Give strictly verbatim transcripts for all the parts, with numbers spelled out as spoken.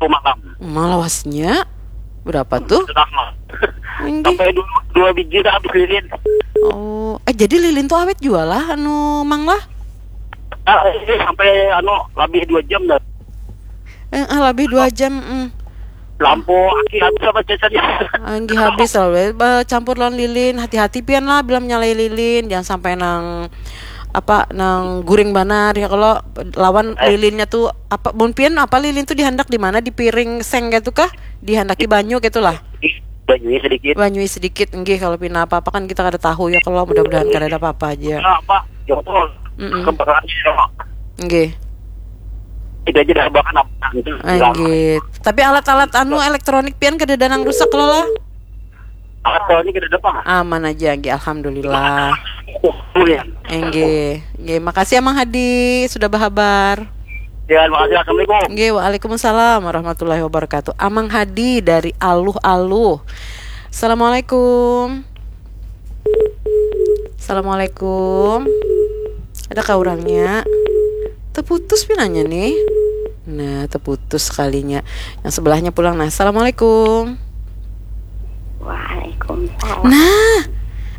Malam. Malawasnya berapa tuh? Sudah mah. Sampai dua, dua biji dah habis lilin. Oh, eh jadi lilin tuh awet juga lah anu Mang lah? Ah, ini sampai anu lebih dua jam dah. Eh, ah, lebih dua jam. Mm. Lampu aki habis apa cacarnya? Anggi habis lah, campur lawan lilin. Hati-hati pian lah bila menyalai lilin, jangan sampai nang apa nang guring banar ya kalau lawan lilinnya tuh apa mun pian apa lilin tuh dihandak di mana di piring seng gitu kah dihandaki banyu gitu lah Banyunya sedikit. Banyui sedikit nggih kalau pina apa-apa kan kita kada tahu ya kalau mudah-mudahan kada ada apa-apa aja. Nah, apa? Jongkol. Mm-mm. Kebakarannya ya. Nggih. Tidak aja dah bahkan apa gitu. Ah, nggih. Tapi alat-alat anu elektronik pian kada ada nang rusak lo lah. Alat kalau ini kada ada apa? Aman aja nggih alhamdulillah. Oh ya. Nggih. Nggih, makasih Amang Hadi sudah berhabar. Ya, makasih. Assalamualaikum. Nggih, waalaikumsalam warahmatullahi wabarakatuh. Amang Hadi dari Aluh-Aluh. Assalamualaikum. Assalamualaikum. Adakah orangnya? Terputus pinanya nih. Nah, terputus sekalinya. Yang sebelahnya pulang. Nah, assalamualaikum. Waalaikumsalam. Nah,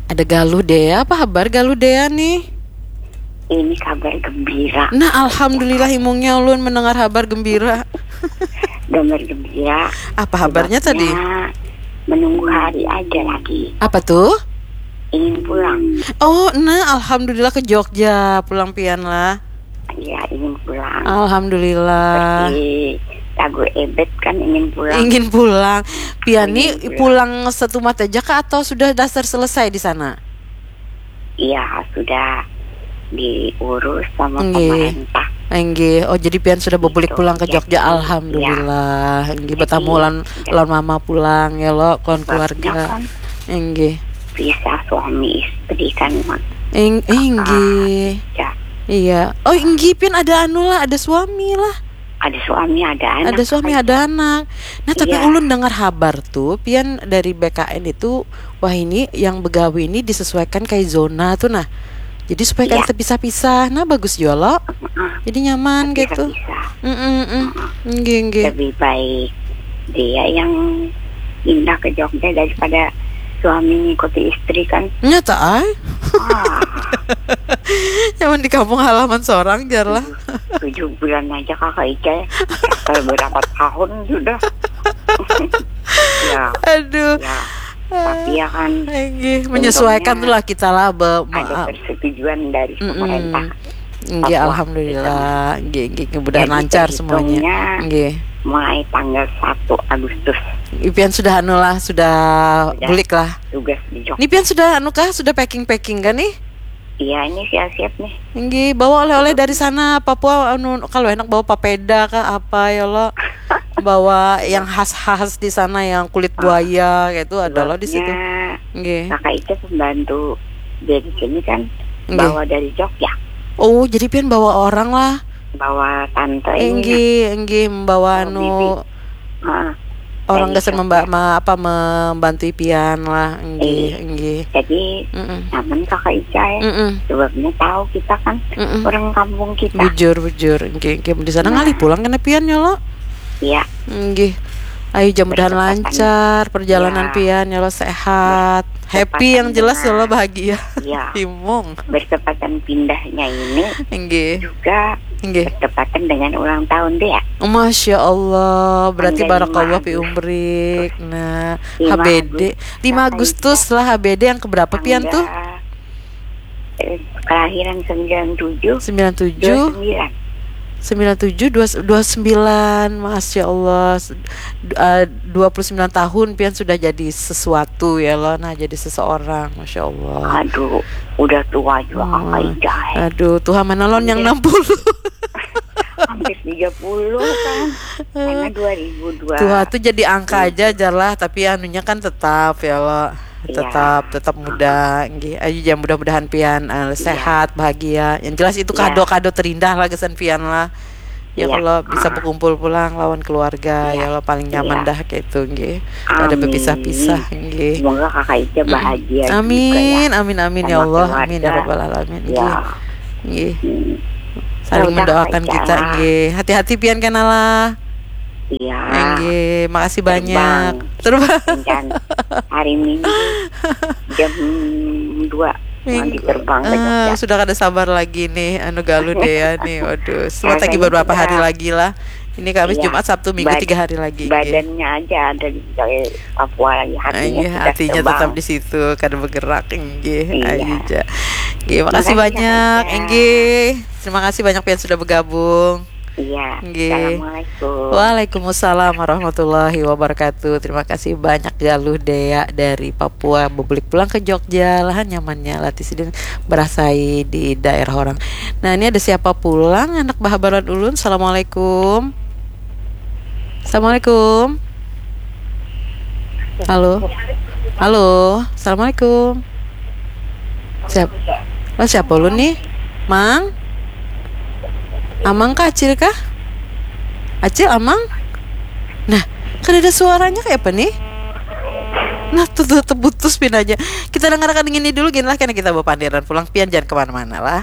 ada Galuh Dea. Apa kabar Galuh Dea nih? Ini kabar gembira. Nah, alhamdulillah imungnya ulun mendengar kabar gembira. Gambar gembira. Apa kabarnya tadi? Ya, menunggu hari aja lagi. Apa tuh? Ingin pulang. Oh, nah alhamdulillah ke Jogja pulang pian lah. Ya, ingin pulang. Alhamdulillah. Di lagu Ebet kan ingin pulang. Ingin pulang. Pian nih Ingin pulang setumat aja kah atau sudah dasar selesai di sana? Iya, sudah diurus sama Nggih. Pemerintah. Enggih. Oh, jadi pian sudah bebulik Gitu, pulang ke ya. Jogja. Alhamdulillah. Enggih Jadi, bertemu lawan ya. Lawan mama pulang ya lo, kawan Sebabnya keluarga. Kan Enggih. Bisa suami istri kan, Mak. Eng, enggih. Ya. Iya. Oh, enggih pian ada anu lah, ada suami lah. Ada suami, ada anak. Ada suami, ada anak. Nah, tapi Iya. Ulun dengar kabar tuh, pian dari B K N itu, wah ini yang begawi ini disesuaikan kayak zona tuh nah. Jadi supaya kada Iya. terpisah-pisah. Nah, bagus juga lo. Jadi nyaman gitu. Bisa. Mm-mm-mm. Enggih, enggih. Lebih baik dia yang pindah ke Jogja daripada suami ngikuti istri kan. Nyata ay. Ah, Nyaman di kampung halaman seorang jar lah. Tujuh bulan aja kakak Ica ya. Kalau berapa tahun sudah. Ya, Aduh. Ya. Tapi ya kan, Enggih, menyesuaikan untungnya tuh lah kita lah be, Ada maaf. Persetujuan dari Mm-mm. Pemerintah. Enggih, Papua. Alhamdulillah. Enggih, enggih, mudah Jadi, lancar semuanya. Terhitungnya Enggih. Mulai tanggal satu Agustus. Pian sudah anu lah, sudah bulik lah. Tugas di Jogja. Ini pian sudah anu kah, sudah packing-packing kan nih? Iya, ini siap-siap nih. Enggih, bawa oleh-oleh dari sana Papua anu kalau enak bawa papeda kah apa ya lo. Bawa yang khas-khas di sana yang kulit buaya gitu ada lo di situ. Sebabnya Enggih. Kakak Ica pembantu dia di sini kan Enggih. Bawa dari Jogja. Oh, jadi pian bawa orang lah. Bawa tante ini. Enggih, enggih membawa Bawa anu bibi. Ah, orang dari gasan Jogja. memba ma, apa membantu pian lah. Enggih, Iya. Enggih. Jadi Mm-mm. Nyaman kakak Ica ya. Mm-mm. Sebabnya tahu kita kan Mm-mm. Orang kampung kita. Bujur, bujur. Enggih, enggih. Di sana Nah. Ngalih pulang kena pian ya lo. Iya. Enggih. Ayo, mudah-mudahan Bertepatan. Lancar perjalanan Ya. Pian ya lo sehat. Happy yang jelas ya lo bahagia. Iya. Imung. Bertepatan pindahnya ini Enggih. Juga Enggih. Bertepatan dengan ulang tahun dia. Masya Allah, berarti barakallah fi umrik. Nah, H B D lima Agustus lah, H B D yang keberapa Pian tuh? Eh, kelahiran sembilan tujuh. Sembilan tujuh. Sembilan tujuh, dua sembilan, Masya Allah. Dua puluh sembilan tahun Pian sudah jadi sesuatu ya lo, nah jadi seseorang, Masya Allah. Aduh, udah tua juga Kakak Ida. Aduh, Tuhan mana lon yang enam puluh. Hampir tiga puluh kan. Karena dua ribu dua. Tua tuh jadi angka aja jar lah, tapi anunya kan tetap ya lo. Tetap tetap muda nggih. Ayo ya mudah-mudahan Pian uh, sehat, bahagia. Yang jelas itu kado-kado terindah lah kesan Pian lah. Ya kalau bisa berkumpul pulang lawan keluarga ya lo paling nyaman dah kayak itu nggih. Ada berpisah-pisah nggih. Semoga Kakak Ica bahagia. Amin, amin, amin ya Allah. Amin ya rabbal alamin. Nggih. Nggih. Saling mendoakan kita nggih. Hati-hati Pian kena lah. Iya. Nggih, makasih Terbang. banyak. Terbang. Dan hari Minggu jam dua nanti Minggu. Terbang ke Ah, Jogja. Sudah kada sabar lagi nih, anu Galuh Dea nih. Waduh, sempat lagi Rasanya beberapa hari sudah. Lagi lah. Ini Kamis, Iya. Jumat, Sabtu, Minggu Bad- tiga hari lagi. Nggih. Badannya aja ada di Papua lagi, hatinya Iya, sudah hatinya terbang. Tetap di situ, kada bergerak, nggih. Iya. Ayu ja. Nggih, makasih Makasih, banyak, Kak Ica. Nggih. Terima kasih banyak pian sudah bergabung. Iya. Nggih. Assalamualaikum. Waalaikumsalam warahmatullahi wabarakatuh. Terima kasih banyak Galuh Dea dari Papua, bebulik pulang ke Jogja, lahan nyamannya latih sidin berasai di daerah orang. Nah, ini ada siapa pulang anak bahabaran ulun. Assalamualaikum. Assalamualaikum. Halo. Halo. Assalamualaikum. Siapa? Oh, siapa ulun nih? Mang? Amang kah, Acil kah? Acil, Amang? Nah, kada ada suaranya kayak apa nih? Nah, tuh, tuh, terputus pin aja. Kita dengarkan ini dulu gin lah, karena kita bapandiran pulang, pian jangan kemana-mana lah.